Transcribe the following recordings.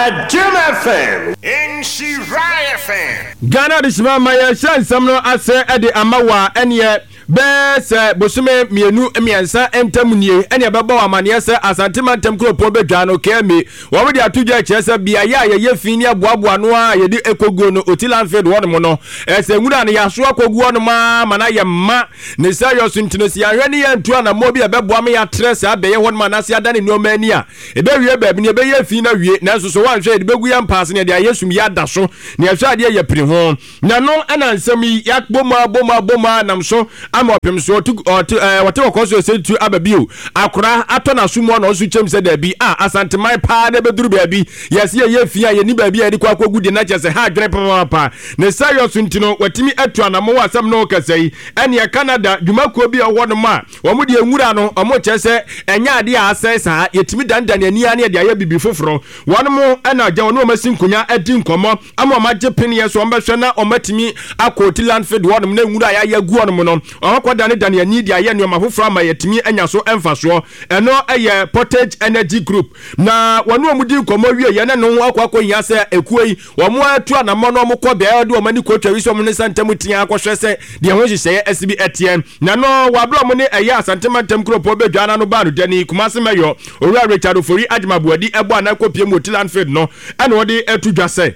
Adom FM. Nhyira FM. Ghana Adehyema ma yɛhyɛ nsɛm no ase de ama wo a, ɛneɛ bɛyɛ sɛ bosome mmienu mmiɛnsa ntam nie ɛne ɛbɛbɔ wo amaneɛ sɛ Asante mantam kuropɔn bɛdwa no KMA wɔn de ato dwa kyerɛ sɛ beaeɛ a yɛyɛ fi ne aboaboa no a yɛde ɛkɔguo no Oti landfill hɔnom no ɛsɛ nwura no yɛaso akɔgu hɔnom a ma no ayɛ ma ne sɛ yɔ so nti no sɛ yɛahwɛ ne yɛntu anammɔ bi a ɛbɛboa ma yɛatrɛ saa bɛyɛ hɔnom anaasɛ yɛadane nneɛma ani a ɛbɛwie baabi ne ɛbɛyɛ fi no awie nanso so woanhwɛ yɛde bɛgu yɛn mpaase ne yɛde ayɛ sum yɛ ada so ne yɛhwɛ adeɛ yɛ piri ho Na no na nsɛm yi yɛabɔ mu abɔ mu abɔ mu ara nam so ama ɔpem so ɔte ɔte ɛɛ wɔte kɔkɔɔ so ɛsɛ tu aba bio. Akora atɔ n'aso mu ɔna ɔnso kyɛm sɛ daabi a Asanteman paa na ɛbɛduru baabi yɛse yɛyɛ fi a yɛni baabi a yɛde kɔ akɔgu deɛ na kyerɛ sɛ ha adwene papaapa. Ne saa yɔ so nti no watumi atu anamɔ wɔ asɛm no ho kasa yi. Ɛneɛ Canada dwumakuo bi a ɛwɔ hɔnom a wɔn deɛ nwura no wɔn kyerɛ sɛ ɛnyɛ adeɛ a asɛe saa yɛtumi danedane ani ara ne yɛde ayɛ biribi foforɔ. Wɔn na agya wɔne wɔn asi nkonya adi nkɔmmɔ ama wɔn agye peneɛ so wɔbɛhwɛ na wɔatumi akɔ Oti landfill hɔnom na nwura a yɛayɛ agu hɔnom no wɔakɔdanedane ani de ayɛ nneɛma foforɔ ama yɛatumi anya so mfasoɔ. Ɛno yɛ Portage Energy Group. Na wɔne wɔn di nkɔmmɔ wieeɛ na ɛno ho akɔ akɔhia sɛ ekuo yi wɔn atu anammɔn na wɔkɔ beaeɛ de wɔn ani kɔtwa wi sɛ wɔn ne nsa ntam tea akɔhwɛ sɛ deɛ ho nhyehyɛeɛ asi bi ɛteɛ. Na no wɔ aberɛ a wɔn ne ɛyɛ Asante mantam kuropɔn bɛdwa no ano baa no dani Kumase Mayor Owura Richard Ofori Agyemang Boadi ɛbɔ anan kɔpie mu wɔ Oti landfill no ɛna ɔde ato dwa sɛ.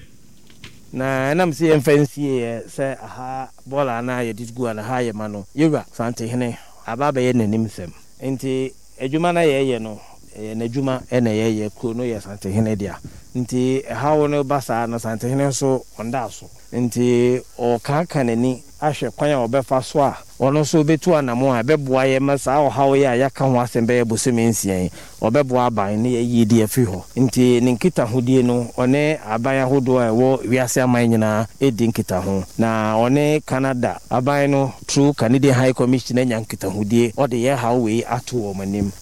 Na ɛnam sɛ yɛmfa nsieeɛ sɛ aha bɔɔla anaa yɛde gu anaa ha yɛ ma no, yɛwura Santehene aba abɛyɛ n'anim sɛm. Nti adwuma no a yɛyɛ no, ɛyɛ n'adwuma na yɛyɛ, kuro no yɛ Santehene dea. Nti ɛhaw no ba saa no, Santehene nso ɔnda so. Nti ɔrekaaka n'ani ahwɛ kwan a ɔbɛfa so a ɔno nso ɔbɛtu anamɔn a ɛbɛboa yɛn ma saa ɔhaw yi a yɛaka ho asɛm bɛyɛ bosome nsia yi, ɔbɛboa aban na yɛayi de afiri hɔ. Nti ne nkitahodie no, ɔne aban ahodoɔ a ɛwɔ wiase aman nyinaa redi nkitaho. Na ɔne Canada aban no through Canadian High Commission anya nkitahodie, ɔde yɛn haw wei ato wɔn anim.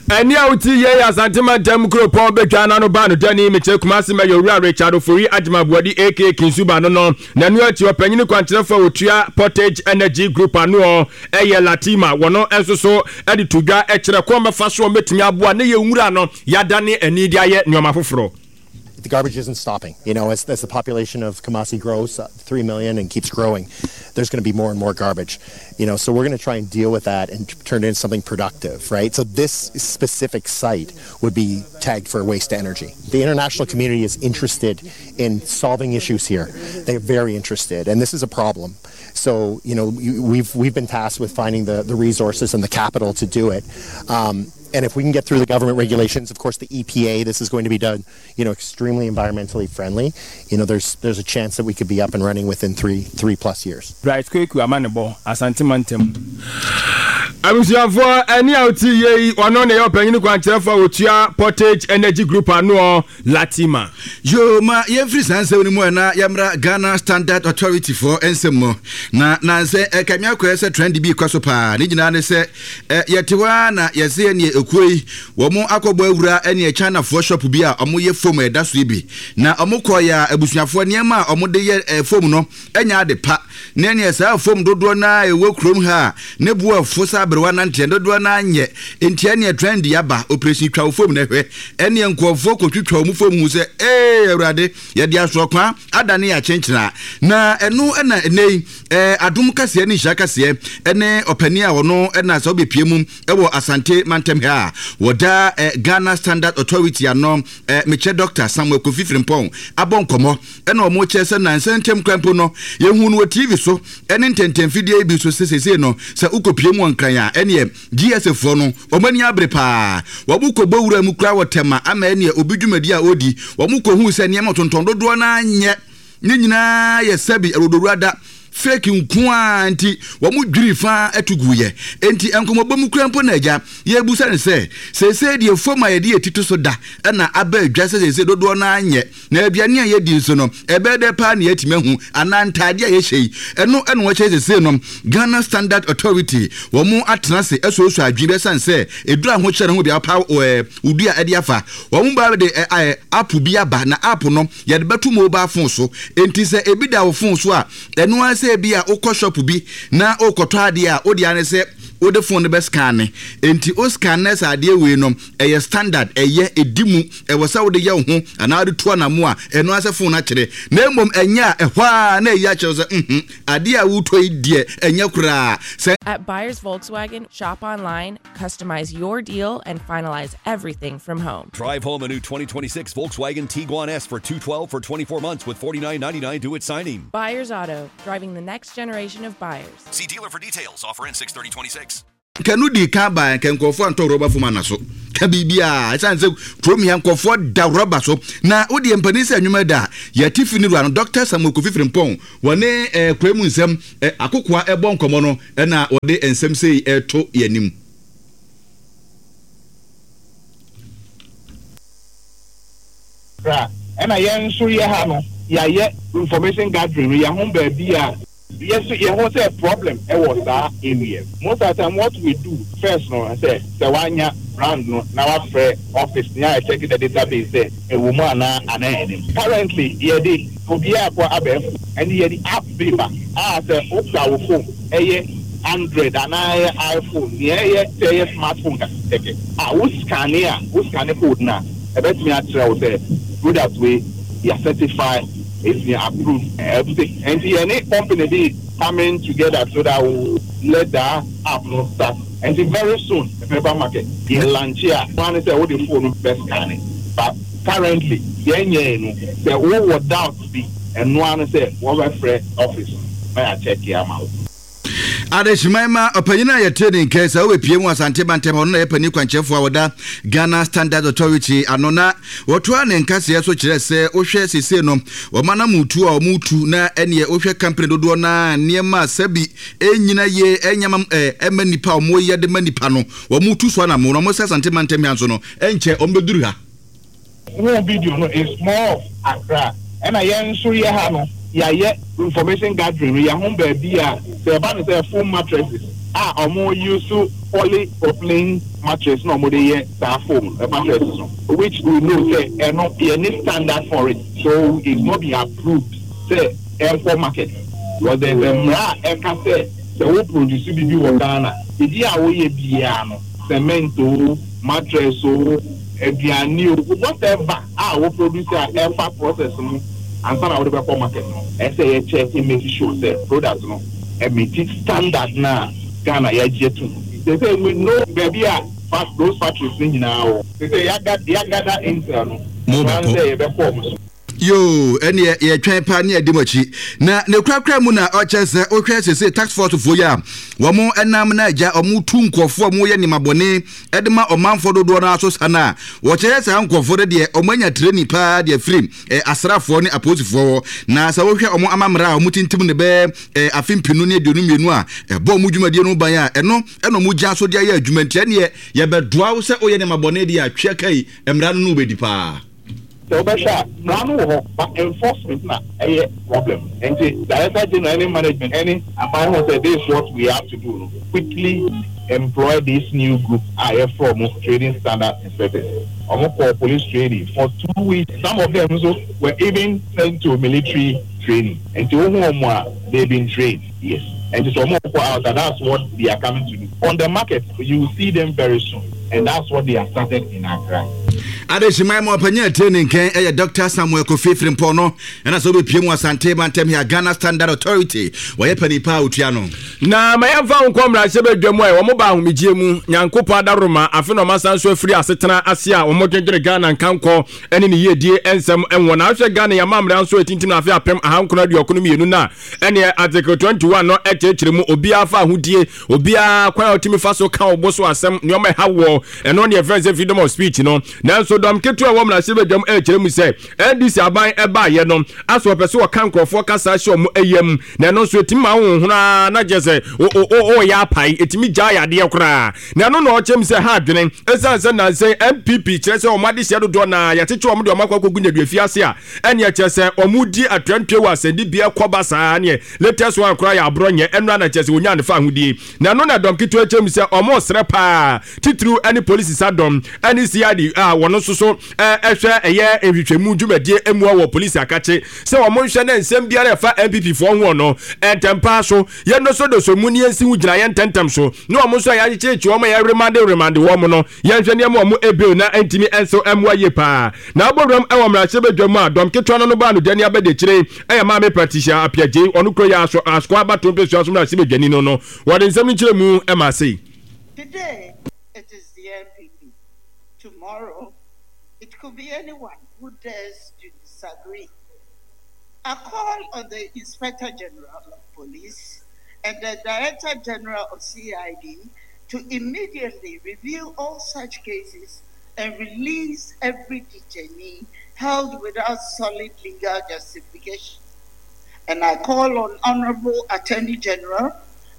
Ɛnne a wote yei yɛ Asante mantam kuropɔn Bedwa no ano baa no dani mekyerɛ Kumasi Mayor Owura Richard Ofori Agyemang Boadi aka Kinsu ba no no. Na ɛno akyi ɔpanyini kwankyerɛfoɔ a ɔtua Portage Energy Group anoɔ yɛ Latima wɔno nso so de to dwa kyerɛ kwan bɛfa so wɔbɛtumi aboa ne yɛ nwura no yɛadane ani de ayɛ nneɛma foforɔ. The garbage isn't stopping. You know, as, as the population of Kumasi grows, uh, 3 million and keeps growing, there's going to be more and more garbage. You know, so we're going to try and deal with that and turn it into something productive, right? So this specific site would be tagged for waste to energy. The international community is interested in solving issues here. They're very interested, and this is a problem. So, you know, we've, we've been tasked with finding the, the resources and the capital to do it. Um, and if we can get through the government regulations, of course, the EPA, this is going to be done, you know, extremely environmentally friendly. You know, there's there's a chance that we could be up and running within three three plus years. Bright Kweku Amanebɔ, Asante Mantam. Abusuafoɔ, ɛne a wote yie yi, ɔno na ɛyɛ ɔpanyin kwankyerɛfoɔ a ɔtua Portage Energy Group anoɔ. Latima. Yoo ma yɛmfiri saa nsɛm no mu ɛ na yɛmmra Ghana Standard Authority foɔ nsɛm mu. Na nansɛ ɛkame akɔyɛ sɛ trend bi rekɔ so paa. Ne nyinaa ne sɛ ɛ yɛte hɔ ara na yɛse ɛneɛ ekuo yi wɔn akɔbɔ awura ɛneɛ China foɔ shop bi a wɔyɛ foam a ɛda so yi bi. Na wɔn kɔɔeɛ a abusuafoɔ nneɛma a wɔde yɛ ɛ foam no ɛnyɛ ade pa. Ne ɛneɛ saa fam dodoɔ no ara a ɛwɔ kurom ha a ne bo afu sɛ aberewa nanteɛ dodoɔ no ara nyɛ nti ɛneɛ trend yi aba operation twa wo fam na hwɛ ɛneɛ nkurɔfoɔ kɔtwitwa wɔn fam hu sɛ ee awurade yɛde asorɔkwa adane yɛ akyenkyena na ɛno ɛna ɛnɛ yi ɛɛ adom kaseɛ ne nhyira kaseɛ ɛne ɔpanin a ɔno ɛna sɛ wobɛpie mu ɛwɔ Asante mantam ha a wɔda ɛ Ghana Standard Authority ano ɛ mekyɛ Dr. Samuel Kofi Frimpong abɔ nkɔmmɔ Ɛna wɔn kyerɛ sɛ nansa ntam koraa mpo no, yɛhuu no wɔ TV so ne ntɛntɛmfidie yi bi so sɛ seesei no, sɛ wokɔpue mu wɔ Nkran a, ɛneɛ GSA foɔ no, wɔn ani abere paa. Wɔn kɔbɔ wura mu koraa wɔ Tema ama ɛneɛ obi dwumadi a ɔredi, wɔn kɔhuu sɛ nneɛma ɔtontɔn dodoɔ no ara nyɛ, ne nyinaa yɛ sɛbi awodowura da, fake nko ara nti wɔn dwirii fa to guiɛ. Enti nkɔmmɔbɔ mu koraa mpo na agya yɛrebisa no sɛ, seesei deɛ fam a yɛde yɛn ti to so da na aba adwa sɛ seesei dodoɔ no ara nyɛ, Na aduane a yɛdi nso no, ɛbɛyɛ dɛ paa na yɛatumi ahu, anaa ntaade a yɛhyɛ yi, ɛno na wɔkyerɛ sesei no Ghana Standard Authority wɔn atena ase asuasua adwene bi ɛsiane sɛ ɛduru ahokyerɛ no ho bia wɔpaw ɛɛ wodua ɛde afa. Wɔn ba de ɛ app bi aba na app no yɛde bɛto mobile phone so. Enti sɛ ebi da wo phone so a, ɛno ara sɛ ebi a wokɔ shop bi na wokɔtɔ adeɛ a, wode ara ne sɛ. wode phone no bɛ scanne. Enti wo scanne sɛ adeɛ wei no ɛyɛ standard, ɛyɛ, ɛdi mu, ɛwɔ sɛ wode yɛ wo ho anaa wode tu anamo a, ɛno ara sɛ phone no akyerɛ. Na mmom ɛnyɛ a, ɛhɔ ara na ɛyi akyerɛ wo sɛ mhm, adeɛ a woretɔ yi deɛ ɛnyɛ koraa. Sɛ. At Buyers Volkswagen, shop online, customize your deal, and finalize everything from home. Drive home a new 2026 Volkswagen Tiguan S for $212 for 24 months with $49.99 due at signing. Buyers Auto, driving the next generation of buyers. See dealer for details. Offer ends 6/30/26. Nka no dii kan baeɛ nka nkurɔfoɔ antɔ rɔba fom ana so ka biribiara ɛsiane sɛ kurom ya nkurɔfoɔ da rɔba so na wodeɛ mpanin sɛ nnwuma da a yɛte fi ne wura no Dr. Samuel Kofi Frimpong wɔne eh, kura mu nsɛm eh, akokoa ɛbɔ nkɔmmɔ no ɛna wɔde nsɛm sei ɛto yɛn anim. Bra ɛna yɛn nso yɛ ha no yɛayɛ information gathering no yɛho baabi a yɛ nso yɛho sɛ problem ɛwɔ saa area most of the time what we do first no sɛ sɛ wanya brand no na wafrɛ office no yɛ check the database sɛ ɛwɔ mu anaa anaa ɛnim currently yɛde obiara kɔ abɛɛfo ɛne yɛde app bi ba a sɛ wokura wo phone ɛyɛ Android anaa ɛyɛ iPhone nea ɛyɛ sɛ ɛyɛ smartphone kɛkɛ a wo scanne a wo scanne code no a ɛbɛtumi akyerɛ wo sɛ product wei yɛ certify it's been approved ɛfte nti yɛne company bi coming together so that we will let that app no start nti very soon ɛbɛba market yɛ launch a ɛno ara ne sɛ wode phone no bɛ scanne but currently yɛnyɛɛ no sɛ wowɔ doubt bi ɛno ara ne sɛ wɔbɛfrɛ office no na yɛakyɛke ama wo. Adehyeman ma ɔpanyin a yɛtee ne nka sɛ ɔbɛpie mu Asante mantam hɔ no na yɛ panin kwankyerɛfoɔ a wɔda Ghana Standards Authority ano na wɔtoa ne nkaseɛ so kyerɛ sɛ wohwɛ seesei no wɔn anamotuo a wɔtu na ɛneɛ wohwɛ company dodoɔ no a nneɛma a sɛbi ɛnyina yie ɛnyɛ ma ɛma nnipa a wɔyɛ de ma nnipa no wɔtu so anamo na wɔn sɛ Asante mantam ha nso no ɛnkyɛ wɔn bɛduru ha. Wohu video no it's more of Accra ɛna yɛn nso yɛ ha no yɛayɛ information gathering no yɛho baabi a sɛ ɛba no sɛ foam mattresses a ɔmo use polypropylene mattress na ɔmo de yɛ saa foam mattresses no which we know sɛ ɛno yɛnni standard for it so it's not been approved sɛ ɛnkɔ market because there's a mmara a ɛka sɛ sɛ wo produce biribi wɔ Ghana biribi a woyɛ biara no cement oo mattress oo aduane o, whatever a wo produce a ɛfa process mu ansa na wode bɛkɔ market no, ɛsɛ sɛ yɛ check make sure sɛ product no ɛmeeti standard no a Ghana yɛagye atum. Seesei we know baabi a those factories no nyinaa wɔ. Seesei yɛagather intel no, ɛno ara ne sɛ yɛbɛkɔ wɔn so. Yoo, ɛneɛ yɛtwɛn paa ne adi mo akyi. Na ne korakora mu na ɔkyɛ sɛ wohwɛ sese tax force foɔ yi a wɔn nam na agya wɔn tu nkurɔfoɔ a wɔyɛ nneɛma bɔne de ma ɔmanfoɔ dodoɔ no aso sa no a wɔkyerɛ saa nkurɔfoɔ no deɛ wɔn anya training paa deɛ firi eh, asraafoɔ ne apolisifoɔ hɔ. Na sɛ wohwɛ wɔn amammerɛ a wɔn tintim ne bɛɛ eh, afe mpenu ne 22 a ɛbɔ wɔn dwumadie no ban a ɛno ɛna wɔn gyina so de ayɛ adwuma nti ɛneɛ yɛbɛdoa wo sɛ woyɛ nneɛma bɔne deɛ a twɛ kai mmara no no wobɛdi paa. Sɛ wobɛhwɛ a mmara no wɔ hɔ but enforcement na ɛyɛ problem nti director general ne management ne aban hu sɛ this is what we have to do no quickly employ this new group a yɛfrɛ wɔn trading standard inspectors wɔn kɔɔ police training for 2 weeks some of them nso were even sent to military training nti wohu wɔn a they been trained yes nti sɛ wɔn kɔ out a that's what they are coming to do on the market you will see them very soon and that's what they have started in Accra. Adehyeman mu ɔpanyin a ɛtire ne nkɛn yɛ Dr. Samuel Kofi Frimpong no ɛna sɛ wobɛpie mu Asante mantam here Ghana Standard Authority wɔyɛ panin paa a ɔtua no. Na ma yɛmfa wo nkɔ mmarahyɛbadwa mu a wɔn ba ahomegyeɛ mu Nyankopɔn adaworoma afe na wɔasan so afiri asetena ase a wɔdwendwene Ghana nkankɔ ne ne yiedie nsɛm wɔ na ahwɛ Ghana yɛn amammerɛ nso ɛtintim no afe 1992 no a ɛneɛ Article 21 no ɛkyerɛkyerɛ mu obiara fa ahodie obiara kwan a ɔtumi fa so ka ɔbo so asɛm nneɛma ɛha wɔ ɛno ne ɛfrɛ sɛ freedom of speech no nanso dɔm ketewa wɔ mmarahyɛbadwam ɛkyerɛ mu sɛ NDC aban ɛbaayɛ no aso ɔpɛ sɛ ɔka nkurɔfoɔ kasa hyɛ ɔmo ɛyam na ɛno nso ɛtumi ma wo hono na kyerɛ sɛ ɔyɛ apae ɛtumi gyaa yadeɛ koraa na ɛno na ɔkyerɛ mu sɛ ha adwene ɛsiane sɛ nansɛn NPP kyerɛ sɛ ɔmo adehyeɛ dodoɔ na yɛakyekyɛ ɔmo de ɔmo akɔ akɔgu nyaduafi ase a ɛneɛ kyerɛ sɛ ɔmo di atuantue wɔ asɛnnibea kɔba saa neɛ latest one koraa yɛ aborɔ nyɛ ɛno na kyerɛ sɛ wɔnya ne fa ahodie na ɛno na dɔm ketewa kyerɛ mu sɛ ɔmo srɛ paa titiriw ɛne polisi sa dɔm ɛne CID a wɔn nso nso so ɛhwɛ ɛyɛ nhwehwɛmu dwumadie mua wɔ polisi akakye sɛ wɔn nhwɛ na nsɛm biara ɛfa NPP foɔ ho no ntɛmpaa so yɛndosodoso mu ne yɛnsi ho gyinaeɛ ntɛntɛm so na wɔn nso a yɛakyekyekye wɔn a yɛremande remande wɔn no yɛnhwɛ nneɛma wɔn ebill na ntumi nso mmoa yie paa. Na abɔ wuram wɔ mmarahyɛbadwa mu a dɔm ketewa no no baa no dani abɛdiakyire ɛyɛ Maame Patricia Appiah Gyei ɔno kuro yi aso Asoa abatoɔ mpɛsua so mmarahyɛbadwani no no wɔde nsɛm no nkyerɛmu maa sei. Today it is the NPP, tomorrow it could be anyone who dares to disagree. I call on the Inspector General of Police and the Director General of CID to immediately review all such cases and release every detainee held without solid legal justification. And I call on Honorable Attorney General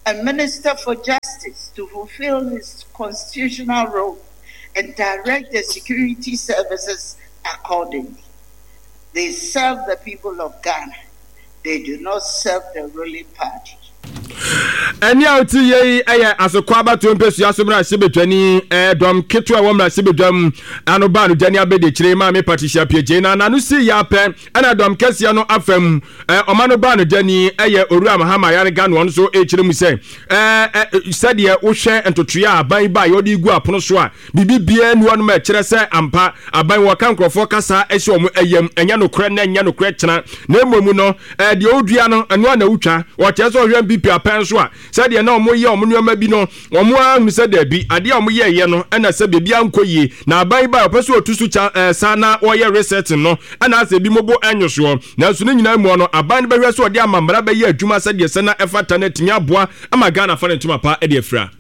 and Minister for Justice to fulfill his constitutional role and direct the security services accordingly. They serve the people of Ghana. They do not serve the ruling party. Ɛnne a wote yɛ yi yɛ asokɔ abatoɔ mpasua so mmarahyɛbadwani dɔm ketewa ɛwɔ mmarahyɛbadwam ano baa no dani abɛdiakyire Maame Patricia Piagyei na n'ano sii yɛ apɛ ɛna dɔm kɛseɛ no afam ɔma no baa no dani ɛyɛ Owura Mahama Ayariga no ɔno nso ɛkyerɛ mu sɛ sɛdeɛ wohwɛ ntotoeɛ a aban yi baeɛ ɔde gu apono so a Biribi biara nni hɔnom a ɛkyerɛ sɛ ampa aban wɔka nkurɔfoɔ kasa hyɛ wɔn yam, ɛnyɛ nokorɛ nnɛ, ɛnyɛ nokorɛ kyena, na mmom no, deɛ wodua no, ɛno ara na wotwa. Wɔkyerɛ sɛ wɔhwɛ NPP apɛn nso a, sɛdeɛ na wɔyɛ wɔn nneɛma bi no, wɔn ara hunu sɛ daabi, adeɛ a wɔyɛeɛ no na sɛ biribiara nkɔ yie, na aban yi baeɛ wɔpɛ sɛ wɔtu so kya sa na wɔyɛ resetting no, ɛna asɛ ebinom bo nnwo soɔ. Nanso ne nyinaa mu no, aban no bɛhwɛ sɛ ɔde amammara bɛyɛ adwuma sɛdeɛ ɛsɛ na ɛfata na atumi aboa ama Ghana afa ne ntoma pa de afira.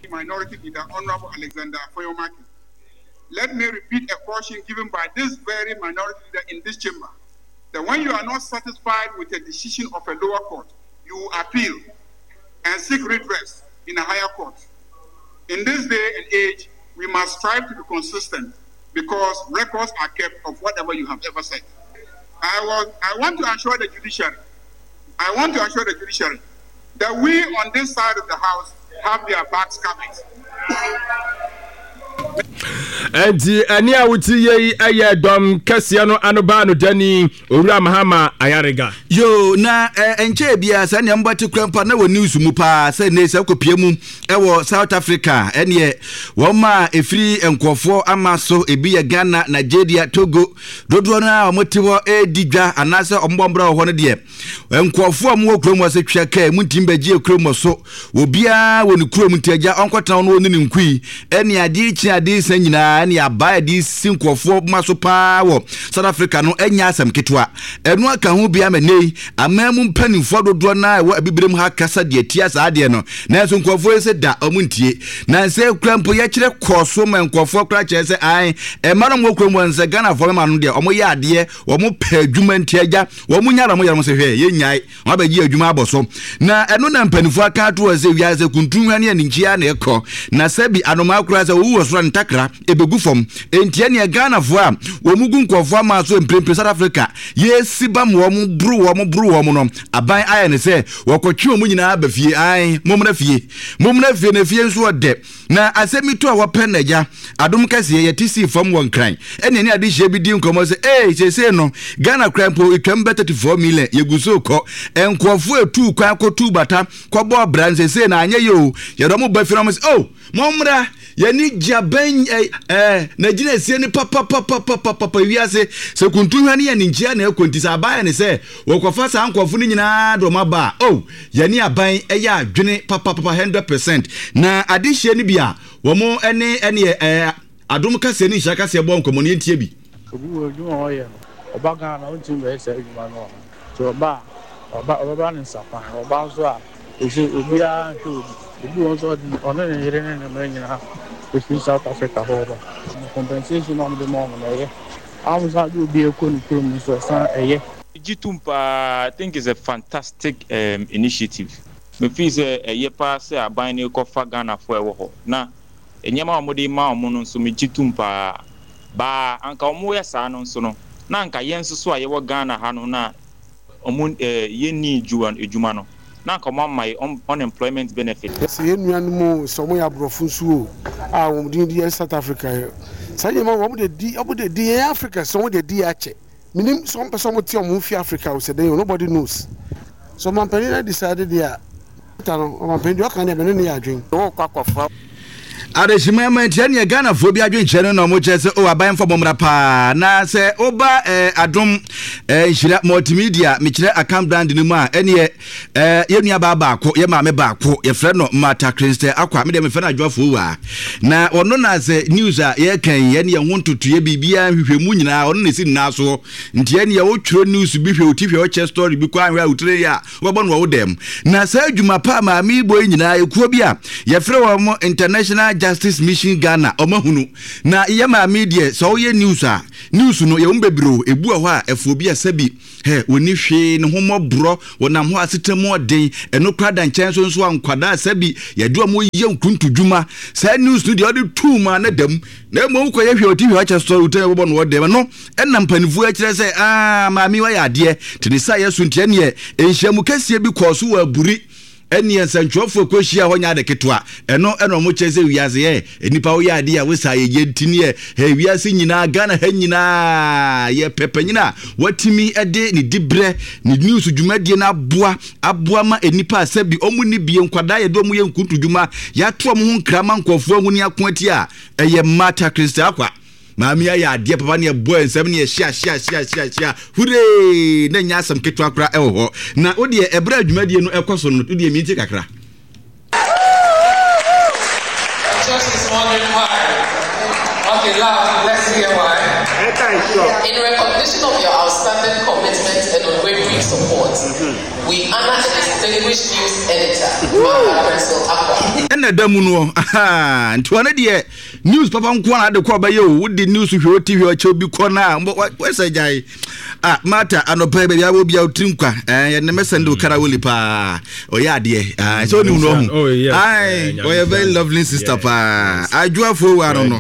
Minority Leader Honorable Alexander Afenyo-Markin. Let me repeat a caution given by this very minority leader in this chamber, that when you are not satisfied with a decision of a lower court, you appeal and seek redress in a higher court. In this day and age, we must strive to be consistent because records are kept of whatever you have ever said. I, was, I want to assure the judiciary, I want to assure the judiciary that we on this side of the house have their backs covered. Enti ɛne a wote yɛ yi yɛ dɔm kɛseɛ no ano baa no dani Owura Mahama Ayariga. Yoo na ɛnkyɛɛ biara saa nea mbɔte kura mpa na wɔ news mu paa sɛ ne sɛ kɔpie mu ɛwɔ South Africa ɛneɛ wɔn a ɛfiri nkurɔfoɔ ama so ebi yɛ Ghana, Nigeria, Togo dodoɔ no a wɔte hɔ ɛredi dwa anaasɛ wɔn bɔ mbra wɔ hɔ no deɛ Nkurɔfoɔ a wɔwɔ kurom hɔ sɛ twia kaa mu ntumi bɛgye kurom hɔ so. Obiara wɔ ne kurom nti agya ɔnkɔtena hɔ na ɔne ne nkui. Ɛne adeɛ kyi adeɛ sa nyinaa ɛne abaa ɛde si nkurɔfoɔ ma so paa wɔ South Africa no ɛnyɛ asɛm ketewa. Ɛno aka ho bi ama nnɛ yi aman mu mpanimfoɔ dodoɔ no a ɛwɔ abibirem ha kasa deɛ tia saa adeɛ no. Nanso nkurɔfoɔ yi sɛ da wɔn ntie. Na nsɛ kura mpo yɛkyerɛ kɔɔ so ma nkurɔfoɔ kora kyerɛ sɛ ae ɛma no wɔ kurom hɔ nsɛ Ghanafoɔ mɛma no deɛ wɔyɛ adeɛ wɔn pɛ adwuma nti agya wɔn nya na wɔn yɛ wɔn sɛ hwɛ yɛn nyae wɔn abɛgye adwuma abɔ so na ɛno na mpanimfoɔ aka ato hɔ sɛ wiase sɛ kuntun ne aninkyia na ɛkɔ na sɛbi anomaa koraa sɛ owu wɔ soro ntakra ebegu fam enti ɛneɛ Ghanafoɔ a wɔn gu nkurɔfoɔ ama so mprempren South Africa yɛsi bam wɔn boro wɔn boro wɔn no aban ayɛ ne sɛ wɔkɔtwe wɔn nyinaa ba fie ae mommra fie mommra fie na fie nso ɔdɛ Na asɛm yi to a wɔpɛ na agya, adom kɛseɛ, yɛte sii fam wɔ Nkran, ɛne ɛne adehyeɛ bi di nkɔmmɔ sɛ, ee, seesei no, Ghana koraa mpo, ɛtwam bɛ 34 million, yɛgu so rekɔ. Nkurɔfoɔ ɛtuu kwan kɔtuu bata, kɔbɔɔ bra no, seesei no, anyɛ yie o, yɛde wɔn ba fie na wɔn sɛ, oh, mommra, yɛne gye abɛn ɛ, ɛ, n'agyinasie no papapapapapa, wiase, sɛ kuntuhwa ne yɛn nkyia na ɛkɔ nti, sɛ aban ayɛ ne sɛ, Wɔkɔfa saa nkurɔfo no nyinaa de wɔn aba a, oh, yɛne aban yɛ adwene papapapa 100%. Na adehyeɛ no bi a wɔn ne ɛneɛ ɛɛ adom kaseɛ ne nhyira kaseɛ bɔɔ nkɔmmɔ no yɛntie bi. Obi wɔ adwuma a ɔyɛ no, ɔba Ghana a ɔntumi bɛyɛ saa adwuma no wɔ ha. Nti ɔba a, ɔba ɔbɛba ne nsa kwan. Ɔba nso a, seesei obiara nhwɛ obi. Obi wɔ hɔ nso a ɔde ɔne ne yere ne ne mma nyinaa ɛfiri South Africa hɔ reba. Compensation a wɔde ma wɔn no, ɛyɛ. Wɔsan de obi rekɔ ne kurom nso, ɛsan ɛyɛ. Megye tom paa, I think it's a fantastic um initiative. Me feel sɛ ɛyɛ paa sɛ aban no rekɔfa Ghanafoɔ a ɛwɔ hɔ na nneɛma a wɔde rema wɔn no nso megye tom paa. Baa anka wɔyɛ saa no nso no na anka yɛn nso so a yɛwɔ Ghana ha no na wɔn eh yɛnni adwuma no na anka wɔn ama yɛ unemployment benefit. Sɛ yɛn nuanom oo, sɛ wɔyɛ aborɔfo nso oo, a wɔn din de yɛ South Africa. Saa nneɛma wɔ wɔn de di wɔn de di yɛn Africa sɛ wɔn de di yɛ akyɛ. Menim sɛ wɔn pɛ sɛ wɔn te wɔn ho fi Africa o sɛ dɛn o nobody knows. Sɛ ɔmanpanin no decide deɛ a ta no ɔmanpanin deɛ ɔka deɛ me ne no yɛ adwen. Wokɔ akɔfa. Adehyema ma nti ɛneɛ Ghanafoɔ bi adwenkyerɛ no na ɔmo kyerɛ sɛ o aban mfa bɔmmra paa na sɛ woba eh, adom eh, nhyira multimedia mekyerɛ Akan brand no mu a ɛneɛ eh, yɛ nua baa baako yɛ maame baako yɛfrɛ no Martha Crinster Akwa medeɛ mefrɛ no adwoafoɔ waa na ɔno na sɛ news a yɛka yi ɛne ɛho ntotoeɛ biribiara nhwehwɛmu nyinaa ɔno na ɛsi nyinaa soɔ nti ɛneɛ wotwerɛ news bi hwɛ oti hwɛ ɔkyɛ story bi kɔ anhwɛ a wotire yɛ a wobɛbɔ no wɔ wo dan mu. Na saa adwuma pa a maame yi bɔ yi nyinaa, ekuo bi a yɛfrɛ wɔn International Justice Mission Ghana, wɔn ahunu. Na yɛ maame yi deɛ, sɛ ɔyɛ news a, news no yɛwɔ mu bebree o, ebu wɔ hɔ a, ɛfo obi a sɛbi, hɛ, wɔnni hwee, ne ho mmɔborɔ, wɔnam hɔ a asetena mu ɔden, ɛno koraa da nkyɛn nso nso a nkwadaa a sɛbi yɛde wɔn yɛ nkuntudwuma. Saa news no deɛ ɔde tuu mu a na da mu. Na mmom wokɔyɛ hwɛ ɔti hwɛ ɔkyɛ sɔre wotɛn bɛbɔ no wɔ dɛm no ɛna mpanimfoɔ akyerɛ sɛ aa maame wayɛ adeɛ te ne sa yɛ so nti ɛneɛ nhyiamu kɛseɛ bi kɔɔ so wɔ aburi ɛneɛ nsɛntwerɛfoɔ kɔhyia hɔ nyɛ ade ketewa ɛno ɛna ɔmo kyerɛ sɛ wiase yɛ nnipa woyɛ adeɛ a wosa yɛ yɛ nti neɛ hɛ wiase nyinaa Ghana ha nyinaa yɛ pɛ panyin a watumi ɛde ne dibrɛ ne news dwumadie no aboa aboa ma nnipa a sɛbi ɔmo ni bie nkwadaa yɛde ɔmo yɛ nkuntu dwuma yɛato ɔmo ho nkra ma nkurɔfoɔ ahu ne ako atia a ɛyɛ Martha Christy Akwa maame ayɛ adeɛ papa ne ɛbɔ nsɛm ne ɛhyia hyia hyia hyia hyia huree na nyɛ asɛm ketewa kora ɛwɔ hɔ na wo deɛ ɛberɛ a dwumadie no ɛkɔ so no wo deɛ mintie kakra. Church is wondering why. Okay, loud, let's hear why. In recognition of your outstanding commitment and unwavering support, mm-hmm. we honor a distinguished news editor, Martha Crystal Akwa. Ɛna ɛda mu no, nti ɔno deɛ news papa nko ara de kɔ ɔbɛyɛ o wode news hwɛ ɔti hwɛ ɔkyɛw bi kɔ no a wɔsɛ gyae ah mata anɔpa yi baabi a wɔ bia wotiri nkwa eh, yɛne mɛsɛn de wo karawoli paa ɔyɛ adeɛ ah, sɛ wonim no ɔho oh, ɔyɛ very lovely sister paa adwoafoɔ wa no no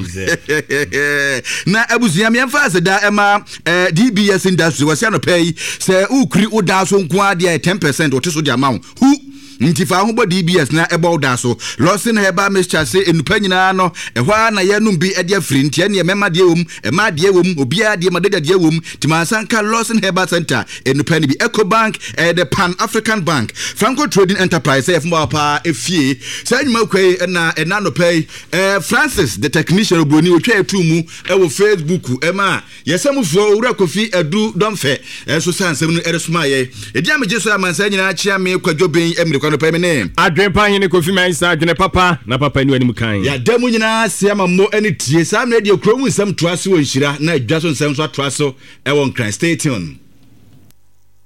na abusua meɛmfa aseda ɛma eh, dbs industry wɔsɛ anɔpa yi sɛ wokuri wo daa so nko adeɛ 10 percent wɔte so de ama wo hu Nti fa wo ho bɔ DBS na ɛbɔ wo da so. Lawson Herbal Mixture se nnupa nyinaa no, ɛhɔ ara na yɛnom bi de afiri. Nti ɛneɛ mɛma deɛ wom, mmaa deɛ wom, obiara deɛ, madagya deɛ wom. Nti mansa nka Lawson Herbal Center nnupa no bi. Ecobank, ɛyɛ the Pan African Bank. Franco Trading Enterprise sɛ yɛfom paa efie. Saa nnwuma kwa yi na ɛna anɔpa yi, eh, Francis the technician obroni otwa yɛ too mu ɛwɔ Facebook ɛma Yɛn sammufoɔ Owura Kofi Adu Dɔmfɛ nso saa nsɛm no de somaa yɛn. Edin a megye so amansan nyinaa kyea me Kwadwo Ben Amiri Kwame Pɛ me ne. Adwene pa hene Kofi Mensah adwene papa na papa nni w'anim kan. Yɛada mu nyinaa ase ama mo ani tie. Saa mmerɛ deɛ kuro mu nsɛm toa so wɔ Nhyira na dwa so nsɛm nso atoa so wɔ Nkran. Stay tuned.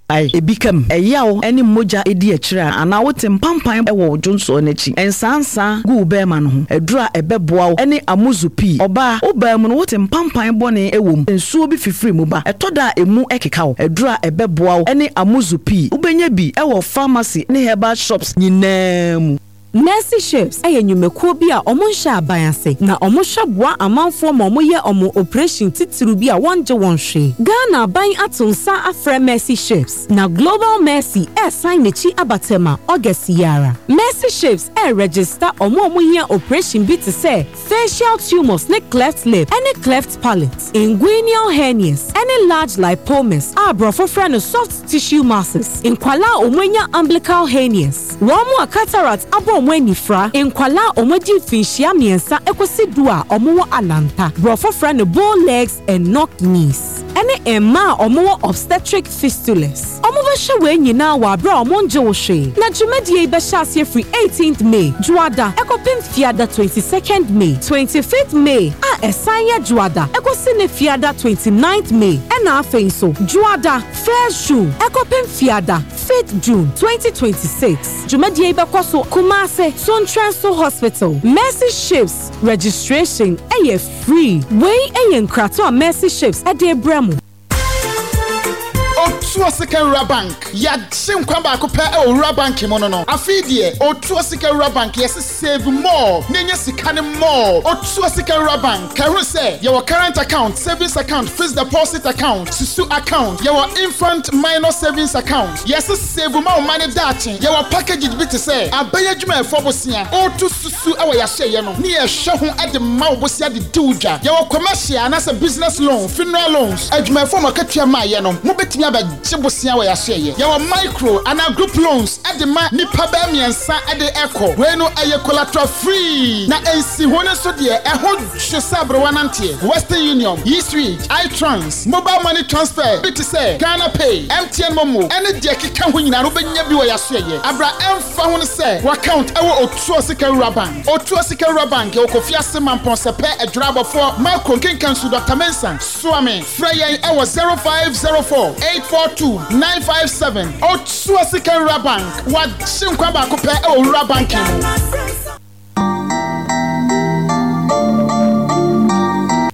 Ebi ka mu, ɛyaw ne mogya di akyire a, anaa wote mpampan wɔ wo dwonsɔɔ no akyi. Nsaansaa gu wo barima no ho. Aduru a ɛbɛboa wo ne amuzu pii. Ɔbaa, wo baa mu no wote mpampan bɔne wɔ mu. Nsuo bi fifiri mu ba. Ɛtɔ da a emu keka wo. Aduru a ɛbɛboa wo ne amuzu pii. Wobɛnya bi wɔ pharmacy ne herbal shops nyinaa mu. Mercy Ships yɛ nnwumakuo bi a wɔnhyɛ aban ase na wɔhwɛ boa amanfoɔ ma wɔyɛ wɔn oprehyɛn titiriw bi a wɔngye wɔn hwee. Ghana aban ato nsa afrɛ Mercy Ships na Global Mercy resan n'akyi aba Tema August yi ara. Mercy Ships reregister wɔn a wɔhia oprehyɛn bi te sɛ facial tumours ne cleft lip ne cleft palate, inguinal hernias ne large lipomas a aborɔfo frɛ no soft tissue masses, nkwadaa a wɔanya umbilical hernias, wɔn a cataract abɔ wɔn anifira, nkwadaa a wɔadi mfinhyia mmiɛnsa kosi du a wɔwɔ alanta, borɔfo frɛ no bow legs and knock knees, ne mmaa a wɔwɔ obstetric fistulas. Wɔbɛhwɛ wei nyinaa wɔ aberɛ a wɔngye wo hwee. Na dwumadie yi bɛhyɛ aseɛ firi eighteenth May, Dwoada, kɔpem Fiada twenty second May, twenty fifth May a ɛsan yɛ Dwoada kɔsi ne Fiada twenty ninth May, ɛna afei nso Dwoada first June kɔpem Fiada fifth June, 2026. Dwumadie yi bɛkɔ so Kumase, Sontrɛnso Hospital. Mercy Ships registration yɛ free. Wei yɛ nkratoɔ a Mercy Ships de rebrɛ mo. Otuo Sika Wura Bank, Yɛagye nkwa baako pɛ wɔ Wura Bank mu no no. Afei deɛ, Otuo Sika Wura Bank, yɛse save more na nya sika no more. Otuo Sika Wura Bank, ka hunu sɛ yɛwɔ current account, savings account, fixed deposit account, susu account, yɛwɔ infant minor savings account. Yɛse save ma wo mma no daakye. Yɛwɔ packages bi te sɛ abɛn adwumayɛfoɔ bosea, woto susu wɔ yɛahyɛeɛ no ne yɛhwɛ ho de ma wo bosea de di wo dwa. Yɛwɔ commercial anaasɛ business loan, funeral loans, adwumayɛfoɔ a mo akatua mmaeɛ no, mobɛtumi abɛgye bosea wɔ yɛahyɛeɛ. Yɛwɔ micro anaa group loans de ma nnipa bɛyɛ mmiɛnsa de kɔ. Wei no ɛyɛ collateral free na nsiho no nso deɛ ɛho dwo sɛ aberewa nanteɛ. Western Union, E-Switch, iTrans, mobile money transfer bi te sɛ Ghana Pay, MTN Momo ne deɛ ɛkeka ho nyinaa no wobɛnya bi wɔ yɛasoɛeɛ. Abra ɛmfa ho ne sɛ w'account ɛwɔ Otuo Sika Wura Bank. Otuo Sika Wura Bank yɛwɔ Kofi Ase, Mampɔn, Sɛpɛ, Adwira Abɔfoɔ, Makro, Nkenkansu, Dɔkta Mensah, Soame. Frɛ yɛn ɛwɔ 0504 842 957. Otuo Sika Wura Bank, w'agye nkwa baako pɛ ɛwɔ wura banking mu.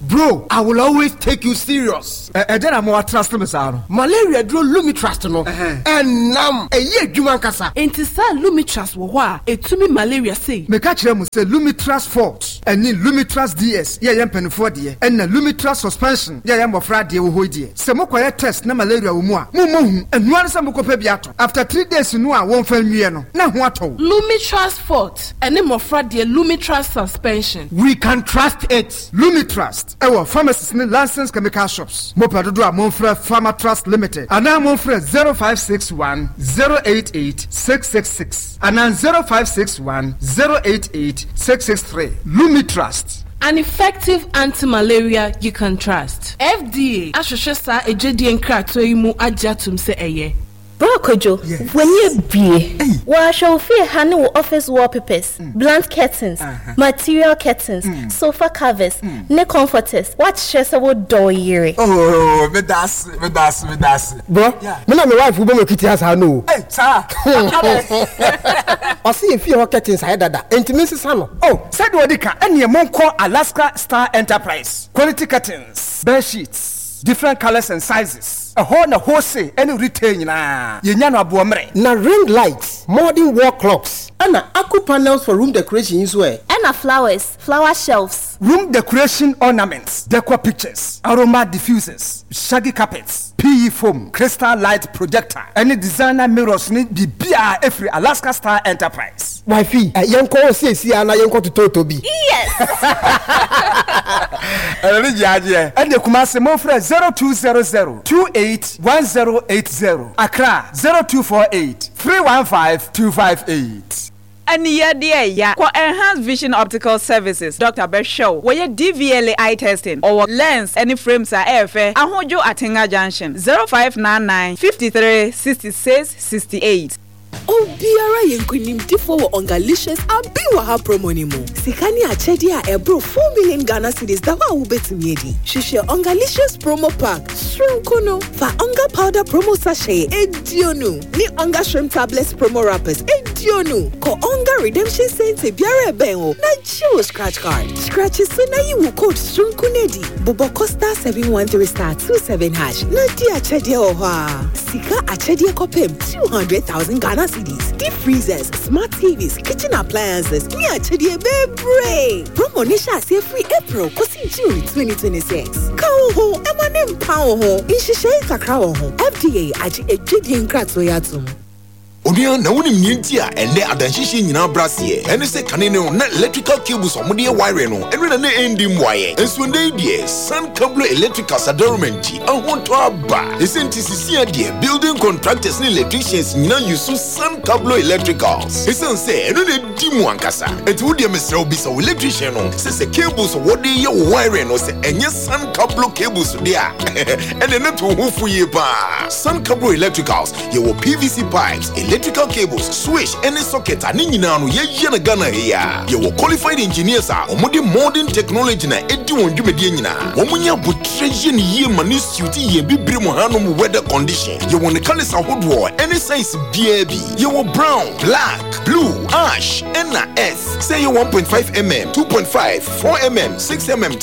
Bro, I will always take you serious. Ɛdɛn na ama woatrust me saa no? Malaria duro Lumitrust no, ɛnam, ɛyɛ adwuma ankasa. Enti saa Lumitrust wɔ hɔ a ɛtumi malaria sei? Meka kyerɛ mo sɛ Lumitrust Forte ɛne Lumitrust DS yɛ yɛn mpaninfoɔ deɛ, ɛna Lumitrust Suspension yɛ yɛn mmɔfra deɛ wɔ hɔ yi deɛ, sɛ mokɔyɛ test na malaria wɔ mu a, mommɔ hu, ɛnoa ne sɛ mokɔpɛ bi atɔ. After 3 days no a wɔmfa nwie no, na ho atɔ wo. Lumitrust Forte ɛne mmɔfra deɛ Lumitrust Suspension. We can trust it. Lumitrust ɛwɔ pharmacies ne licensed chemical shops. Mopɛ dodoɔ a momfrɛ Pharmatrust Limited anaa momfrɛ 0561 088 666 anaa 0561 088 663. Lumitrust. An effective anti-malaria you can trust. FDA ahwehwɛ saa adwadie nkratoɔ yi mu agye atom sɛ ɛyɛ. Bra Kwadwo, w'ani abue. Wɔahwɛ wo fie ha ne wo office wallpapers, blunt curtains, material curtains, sofa covers, ne comforters. Woakyerɛ sɛ wodɔ wo yere. Oh, meda ase, meda ase, meda ase. Bro, me na me wife wobɔ m'akiti asa no o. Hey, saa. Ɔse yɛ fie hɔ curtains ayɛ dada, enti mensesa no. Oh, sɛdeɛ ɔdi ka, ɛneɛ monkɔ Alaska Star Enterprise, quality curtains, bed sheets, different colours and sizes, ɛhɔ na wholesale ɛne retail nyinaa, yɛnya no aboɔmmerɛ. Na ring lights, modern wall clocks, ɛna aku panels for room decoration yi nso ɛ? Ɛna flowers, flower shelves. Room decoration ornaments, decor pictures, aroma diffusers, shaggy carpets, PE foam, crystal light projector, ɛne designer mirrors ne biribiara ɛfiri Alaska Star Enterprise. Wifey, yɛnkɔ hɔ seesei ara na yɛnkɔtotɔtɔ bi. Yes! Ɛno ne gyeagyeɛ. Ɛne Kumasi momfrɛ 0200 28 1080, Accra 0248 315 258. Aniyɛdeɛ ya. Kɔ Enhanced Vision Optical Services, Doctor bɛhwɛ wo. Wɔyɛ DVLA eye testing. Ɔwɔ lens ne frames a ɛyɛ fɛ. Ahodwo Atenga Junction, 0599 53 66 68. Obiara yɛ nkonimdifoɔ wɔ Ongalicious Abi Wɔ Ha promo no mu. Sika ne akyɛdeɛ a ɛboro 4 million Ghana cedis da hɔ a wobɛtumi adi. Hwehwɛ Ongalicious promo pack soronko no. Fa Onga powder promo sachet 20 ne Onga shrimp tablets promo wrappers 20. Kɔ Onga redemption center biara ɛbɛn wo na gye wo scratch card. Scratch so na yi wo code soronko no adi. Bobɔ kɔ *713 *27 hash na di akyɛdeɛ wɔ hɔ a. Sika akyɛdeɛ kɔpem 200,000 Ghana cedis. Deep freezers, smart TVs, kitchen appliances, ne akyɛdeɛ bebree. Promo ne hyɛ aseɛ firi April kɔsi June 2026. Ka wo ho ɛma ne mpa wo ho. Nhyehyɛe kakra wɔ ho. FDA agye adwadie nkratoɔ yi atom. Onua, na wonim nea nti a ɛnnɛ adanhyehyɛ nyinaa brɛ aseɛ? Ɛne sɛ kane no na electrical cables a wɔde yɛ wiring no, ɛno na na ɛndi mmuaeɛ. Nso ɛnnɛ yi deɛ, Sun Cablo Electricals adaworoma nti, ahotɔ aba. Ne sɛ nti seesei deɛ, building contractors ne electricians nyinaa use Sun Cablo Electricals. Esiane sɛ ɛno na ɛdi mu ankasa. Enti wo deɛ mesrɛ wo bisa wo electrician no sɛ sɛ cables a wɔde yɛ wo wiring no sɛ ɛnyɛ Sun Cablo cables deɛ a, ɛnneɛ na tu wo ho fo yie paa. Sun Cablo Electricals, yɛwɔ PVC pipes, electrical cables, switch ne socket a ne nyinaa no yɛyɛ no Ghana ha yi ara. Yɛwɔ qualified engineers a wɔde modern technology na ɛdi wɔn dwumadie nyinaa. Wɔnya aboterɛ yɛ no yie ma no suit yɛn bibire mu hanom weather condition. Yɛwɔ ne colours ahodoɔ ne size biara bi. Yɛwɔ brown, black, blue, ash ɛna earth. Sɛ ɛyɛ 1.5 mm, 2.5, 4 mm, 6 mm.